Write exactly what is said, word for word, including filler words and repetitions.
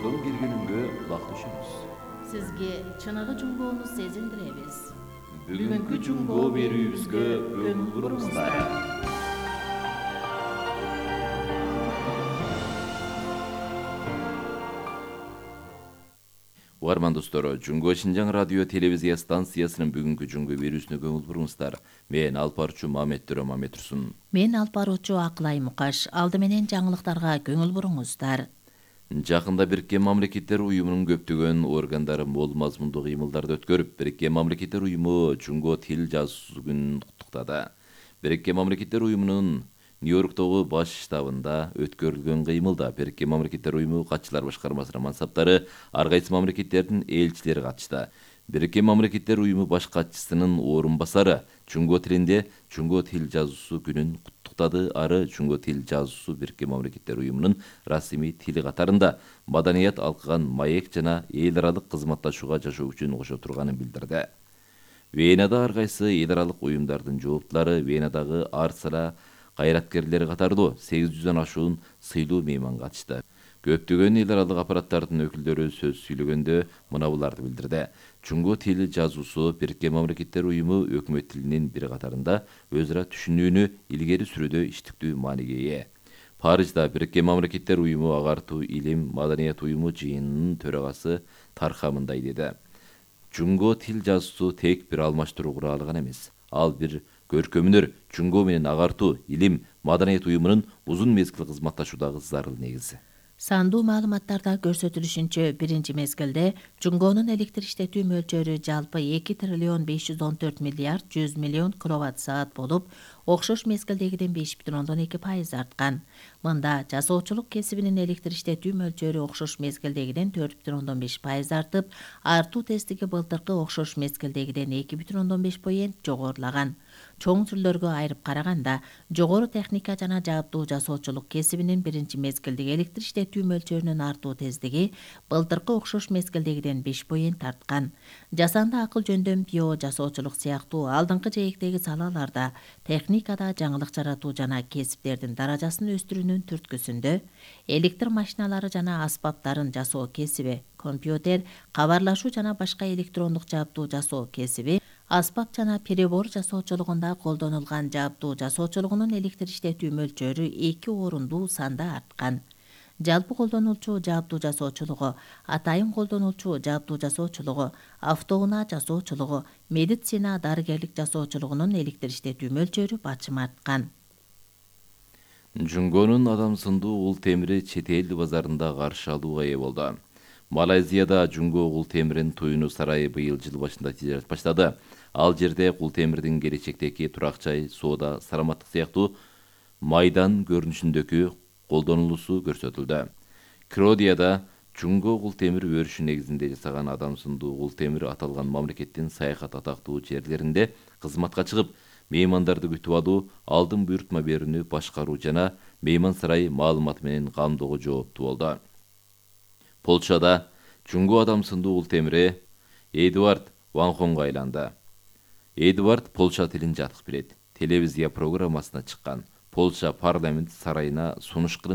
жунгодон бир күнүнгө кулак түшүңүз. Сизге чыныгы жунгоону сезиндиребиз. Бүгүнкү жунгоо берүүбүзгө көңүл буруңуздар. Угарман достор, Жунгоо Шинжаң радио телевизия станциясынын бүгүнкү жунгоо берүүсүнө көңүл буруңуздар. Мен алып баруучу Мамет Төрө Мамет Турсун. Мен алып баруучу Акылай Мукаш. Алды менен жаңылыктарга көңүл буруңуздар. Жакында Бириккен Мамлекеттер Уюмунун көптөгөн органдары мол мазмундуу кыймылдарды өткөрүп, Бириккен Мамлекеттер Уюму жунгоо тил жазуусу күнүн куттуктады. Бириккен Мамлекеттер Уюмунун Нью-Йорктогу баш штабында өткөрүлгөн кыймылда Бириккен Мамлекеттер Уюму катчылар башкармасынын мансаптары, ар кайсы мамлекеттердин элчилери катышты. Бириккен Мамлекеттер Уюму баш катчысынын орун басары жунгоо тилинде жунгоо тил жазуусу күнүн куттуктады. Ары жунгоо тил жазуусу Бириккен Мамлекеттер Уюмунун расмий тили катарында маданият алкыган маек жана эл аралык кызматташууга жашоо үчүн кошо турганын билдирди. Венада ар кайсы эл аралык уюмдардын жооптулары, Венадагы ар сара кайраткерлери катарлуу сегиз жүздөн ашуун сыйлуу мейман катышты. Көптөгөн эл аралык аппараттардын өкүлдөрү сөз сүйлөгөндө мына буларды билдирди. Жунгоо тили жазуусу Бириккен Мамлекеттер Уюму өкмөт тилинин бир катарында өз ара түшүнүүнү илгери сүрүүдө иштиктүү мааниге ээ. Парижда Бириккен Мамлекеттер Уюму агартуу илим маданият уюму жыйынынын төрагасы Тарха мындай деди. Жунгоо тил жазуусу тек бир алмаштыруу куралы гана эмес. Ал бир көркөмүнөр, жунгоо менен агартуу илим маданият уюмунун узун мезгил кызматташуудагы зарыл негизи. Сандуу маалыматтарда көрсөтүлүшүнчө биринчи мезгилде жунгоонун электр иштетүү мөлчөрү жалпы эки триллион беш жүз он төрт миллиард жүз миллион киловатт саат болуп, окшош мезгилдегиден беш бүтүн ондон эки пайыз арткан. Мында жасоочулук кесибинин электр иштетүү мөлчөрү окшош мезгилдегиден төрт бүтүн ондон беш пайыз артып, артуу тездиги былтыркы окшош мезгилдегиден эки бүтүн ондон беш поент жогорулаган. Чоң түрлөргө айырып караганда, жогору техника жана жабдуу жасоочулук кесибинин биринчи мезгилдеги электр иштетүү мөлчөрүнүн артуу тездиги былтыркы окшош мезгилдегиден беш поент арткан. Жасанды акыл жөндөм, био жасоочулук сыяктуу алдыңкы жээктеги салаларда техникада жаңылык жаратуу жана кесиптердин даражасын өстүрүүнүн түрткүсүндө электр машиналары жана аспаптарын жасоо кесиби, компьютер, кабарлашуу жана башка электрондук жабдуу жасоо кесиби, аспап жана перебор жасоочулугунда колдонулган жабдуу жасоочулугунун электр иштетүү мөлчөрү эки орунду санда арткан. Жалпы колдонулчу жабдуу жасоочулугу, атайын колдонулчу жабдуу жасоочулугу, автоунаа жасоочулугу, медицина дарыгерлик жасоочулугунун электр иштетүү мөлчөрү бачым арткан. Жунгоонун адамсындуу ул темири чет эл базарында каршы алууга ээ болду. Малайзияда жунгоо кул темирин туюну сарайы быйыл жыл башында тижарат баштады. Ал жерде кул темирдин келечектеги турак жай, соода, саламаттык сыяктуу майдан көрүнүшүндөгү колдонулуусу көрсөтүлдү. Кродияда жунгоо кул темир өрүшү негизинде жасаган адамсындуу кул темир аталган мамлекеттин саякат атактуу жерлеринде кызматка чыгып, меймандарды күтүп алуу, алдын буйрутма берүүнү башкаруу жана мейман сарай маалыматы менен камдоого жооптуу болду. Полшада жунгоо адамсындуу кул темири Эдуард Ванхонго айланды. Эдуард Полша тилин жатык билет. Телевизия программасына чыккан. Полша парламент сарайына сунуш кылып